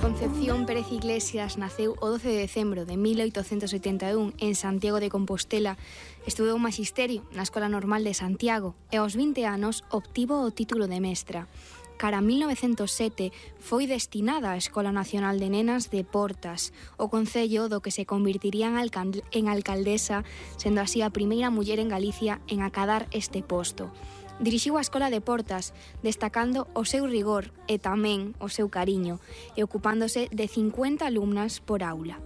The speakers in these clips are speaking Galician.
Concepción Pérez Iglesias naceu o 12 de decembro de 1881 en Santiago de Compostela. Estudou Maxisterio na Escola Normal de Santiago e aos 20 anos obtivo o título de mestra. Cara a 1907 foi destinada á Escola Nacional de Nenas de Portas, o concello do que se convertiría en alcaldesa, sendo así a primeira muller en Galicia en acadar este posto. Dirixiu a Escola de Portas, destacando o seu rigor e tamén o seu cariño, e ocupándose de 50 alumnas por aula.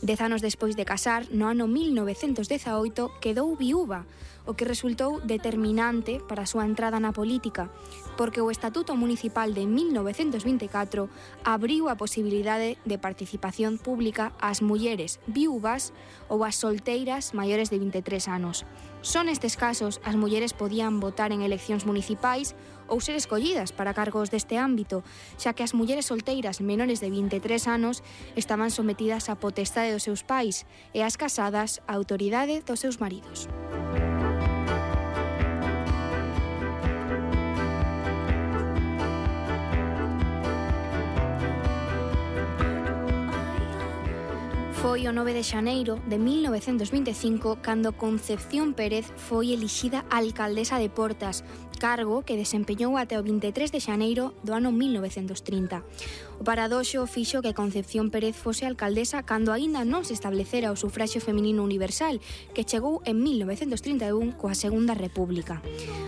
10 anos despois de casar, no ano 1918, quedou viúva, o que resultou determinante para a súa entrada na política, porque o Estatuto Municipal de 1924 abriu a posibilidade de participación pública ás mulleres viúvas ou ás solteiras maiores de 23 anos. Son nestes casos as mulleres podían votar en eleccións municipais ou ser escollidas para cargos deste ámbito, xa que as mulleres solteiras menores de 23 anos estaban sometidas á potestade dos seus pais e as casadas á autoridade dos seus maridos. Foi o 9 de xaneiro de 1925 cando Concepción Pérez foi elixida alcaldesa de Portas, cargo que desempeñou até o 23 de xaneiro do ano 1930. O paradoxo fixo que Concepción Pérez fose alcaldesa cando aínda non se establecera o sufraxio feminino universal, que chegou en 1931 coa Segunda República.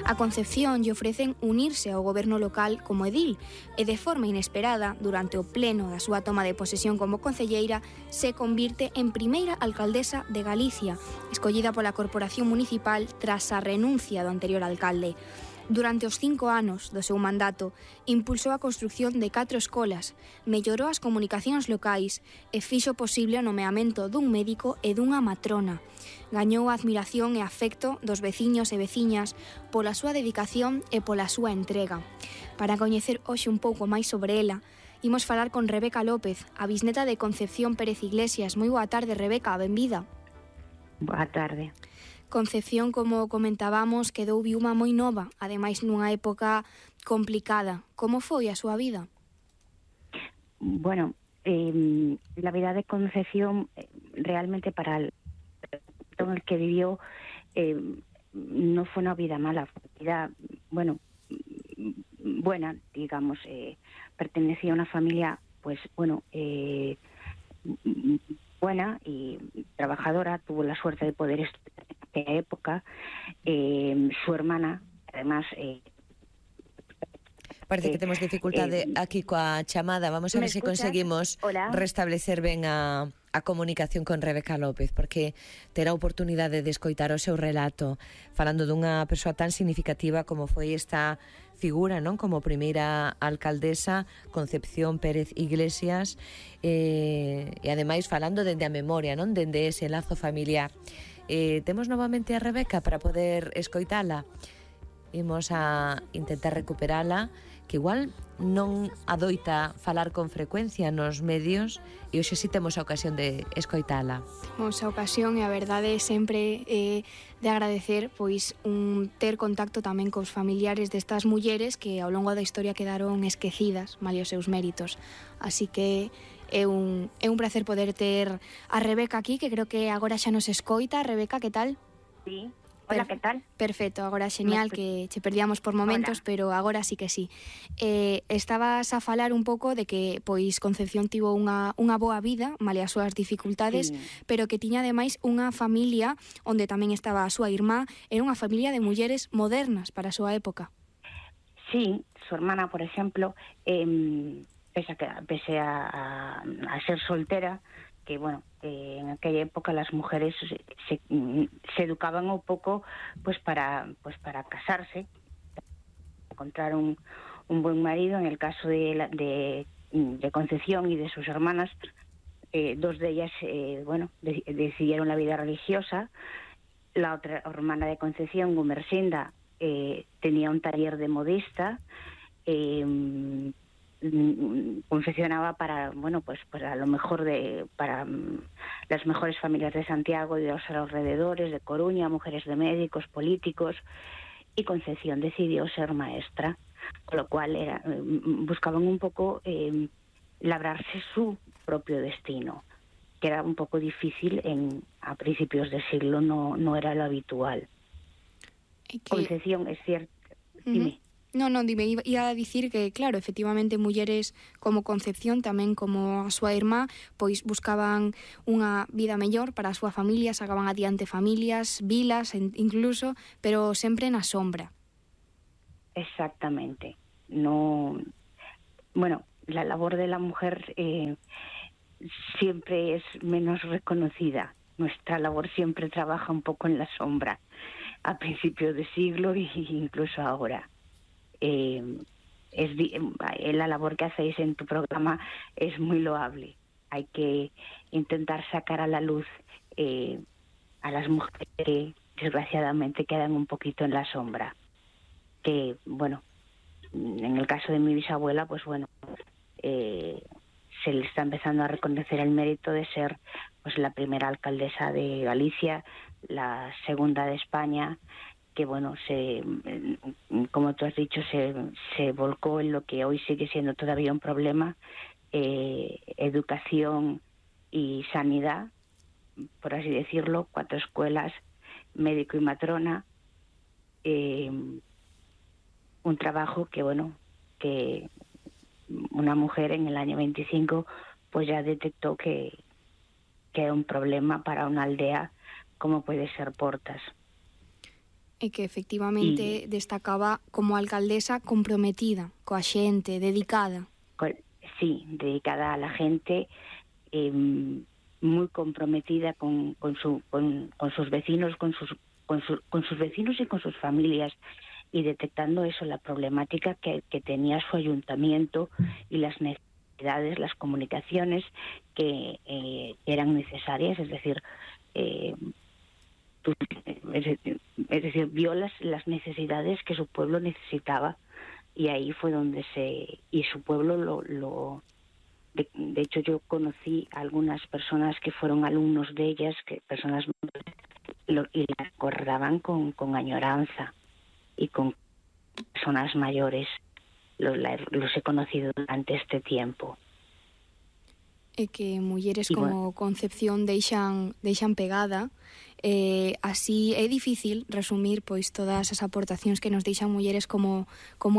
A Concepción lle ofrecen unirse ao goberno local como edil e de forma inesperada, durante o pleno da súa toma de posesión como concelleira, se convirte en primeira alcaldesa de Galicia, escollida pola Corporación Municipal tras a renuncia do anterior alcalde. Durante os 5 anos do seu mandato, impulsou a construción de 4 escolas, mellorou as comunicacións locais e fixo posible o nomeamento dun médico e dunha matrona. Gañou a admiración e afecto dos veciños e veciñas pola súa dedicación e pola súa entrega. Para coñecer hoxe un pouco máis sobre ela, imos falar con Rebeca López, a bisneta de Concepción Pérez Iglesias. Moi boa tarde, Rebeca, benvida. Boa tarde. Concepción, como comentábamos, quedou viúva moi nova, ademais nunha época complicada. Como foi a súa vida? Bueno, la vida de Concepción realmente para el en el que vivió no fue una vida mala, fue una vida, bueno, buena, digamos. Pertenecía a una familia, pues bueno, buena y trabajadora. Tuvo la suerte de poder estudiar en aquella época. Su hermana, además... Parece que temos dificultade aquí coa chamada. Vamos a ver se conseguimos restablecer ben a comunicación con Rebeca López, porque terá oportunidade de escoitar o seu relato falando dunha persoa tan significativa como foi esta figura, non, como primeira alcaldesa, Concepción Pérez Iglesias, e ademais falando dende a memoria, non, dende ese lazo familiar. Temos novamente a Rebeca para poder escoitala. Imos a intentar recuperala, que igual non adoita falar con frecuencia nos medios, e hoxe si temos a ocasión de escoitala. Temos a ocasión, e a verdade é sempre de agradecer pois ter contacto tamén cos familiares destas mulleres que ao longo da historia quedaron esquecidas, malia os seus méritos. Así que é un placer poder ter a Rebeca aquí, que creo que agora xa nos escoita. Rebeca, que tal? Sí. Hola, ¿qué tal? Perfecto, agora xeñal, que che perdíamos por momentos. Hola. Pero agora sí que sí. Estabas a falar un pouco de que pois Concepción tivo unha boa vida, malia as súas dificultades, sí, pero que tiña ademais unha familia onde tamén estaba a súa irmá. Era unha familia de mulleres modernas para a súa época. Sí, su hermana, por ejemplo, pese a ser soltera, que bueno, en aquella época las mujeres se educaban un poco pues para casarse, encontrar un buen marido. En el caso de Concepción y de sus hermanas, dos de ellas decidieron la vida religiosa. La otra hermana de Concepción, Gumersinda, tenía un taller de modista, confeccionaba para, bueno, pues a lo mejor para las mejores familias de Santiago y de los alrededores, de Coruña, mujeres de médicos, políticos, y Concepción decidió ser maestra, con lo cual buscaban un poco labrarse su propio destino, que era un poco difícil a principios de siglo, no era lo habitual. Concepción, es cierto. Dime. Dime, iba a dicir que, claro, efectivamente, mulleres como Concepción, tamén como a súa irmá, pois buscaban unha vida mellor para a súa familia, sacaban adiante familias, vilas, incluso, pero sempre na sombra. Exactamente. Bueno, la labor de la mujer siempre es menos reconocida. Nuestra labor siempre trabaja un poco en la sombra, a principios de siglo e incluso ahora. La labor que hacéis en tu programa es muy loable. Hay que intentar sacar a la luz a las mujeres que desgraciadamente quedan un poquito en la sombra. Que, bueno, en el caso de mi bisabuela, pues bueno, se le está empezando a reconocer el mérito de ser pues la primera alcaldesa de Galicia, la segunda de España, que bueno, como tú has dicho, se volcó en lo que hoy sigue siendo todavía un problema, educación y sanidad, por así decirlo, 4 escuelas, médico y matrona, un trabajo que bueno, que una mujer en el año 25 pues ya detectó que era un problema para una aldea como puede ser Portas. E que efectivamente destacaba como alcaldesa comprometida coa xente, dedicada. Sí, dedicada a la gente, muy comprometida con sus vecinos, con sus vecinos y con sus familias, y detectando eso, la problemática que tenía su ayuntamiento y las necesidades, las comunicaciones que eran necesarias, es decir, vio las necesidades que su pueblo necesitaba, y ahí fue donde y su pueblo de hecho yo conocí a algunas personas que fueron alumnos de ellas, personas y la recordaban con añoranza, y con personas mayores los he conocido durante este tiempo. E que mulleres como Concepción deixan pegada, así é difícil resumir pois todas as aportacións que nos deixan mulleres como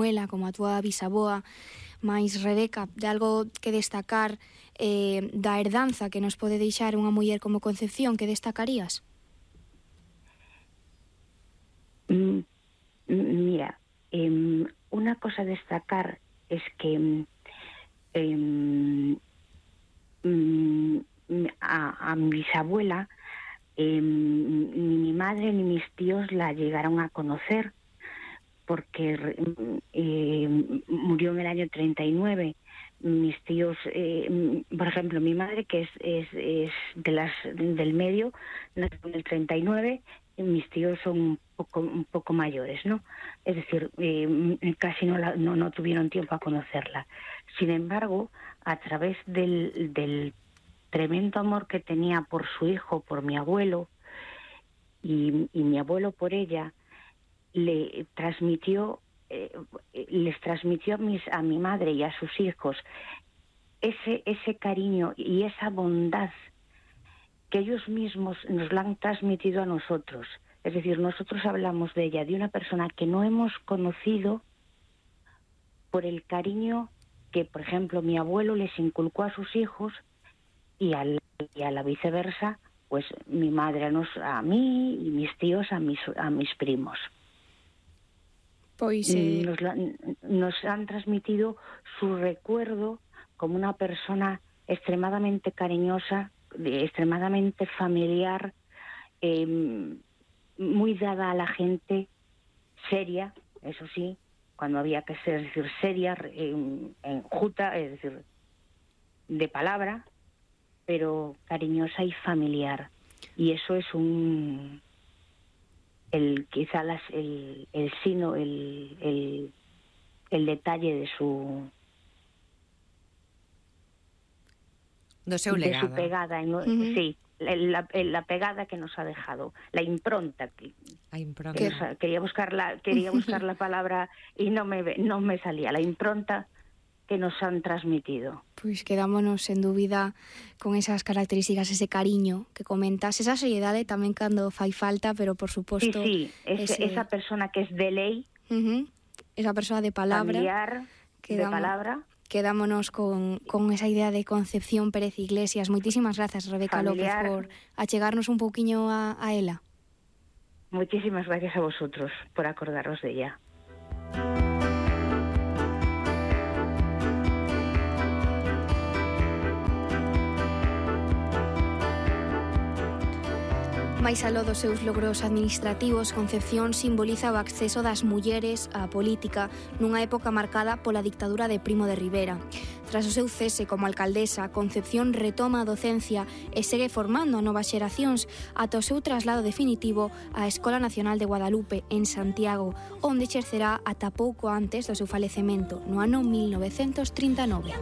ela, como a túa bisaboa. Mais, Rebeca, de algo que destacar da herdanza que nos pode deixar unha muller como Concepción, que destacarías? Mira, una cosa a destacar es que a mi bisabuela, ni mi madre ni mis tíos la llegaron a conocer, porque murió en el año 39. Mis tíos, por ejemplo, mi madre, que es del medio, nació en el 39, y mis tíos son un poco mayores, ¿no? Es decir, casi no tuvieron tiempo a conocerla. Sin embargo, a través del tremendo amor que tenía por su hijo, por mi abuelo, y mi abuelo por ella, les transmitió a mi madre y a sus hijos ese cariño y esa bondad que ellos mismos nos la han transmitido a nosotros. Es decir, nosotros hablamos de ella, de una persona que no hemos conocido, por el cariño que, por ejemplo, mi abuelo les inculcó a sus hijos, y a la viceversa, pues mi madre a mí y mis tíos a mis primos. Pois, nos han transmitido su recuerdo como una persona extremadamente cariñosa, extremadamente familiar, muy dada a la gente, seria, eso sí, cuando había que ser, es decir, seria, enjuta, es decir, de palabra, pero cariñosa y familiar. Y eso es quizá el sino, el detalle de su pegada, sí, la pegada que nos ha dejado, la impronta quería buscar la palabra y no me salía, la impronta que nos han transmitido. Pois quedámonos sen dúbida con esas características, ese cariño que comentas, esa seriedade tamén cando fai falta, pero por suposto... Sí, esa persona que es de lei, esa persona de palabra, familiar, de palabra. Quedámonos con esa idea de Concepción Pérez Iglesias. Moitísimas grazas, Rebeca familiar. López, por achegarnos un pouquiño a ela. Muchísimas gracias a vosotros por acordaros de ella. Mais aló dos seus logros administrativos, Concepción simboliza o acceso das mulleres á política nunha época marcada pola dictadura de Primo de Rivera. Tras o seu cese como alcaldesa, Concepción retoma a docencia e segue formando a novas xeracións ata o seu traslado definitivo á Escola Nacional de Guadalupe, en Santiago, onde exercerá ata pouco antes do seu falecemento, no ano 1939.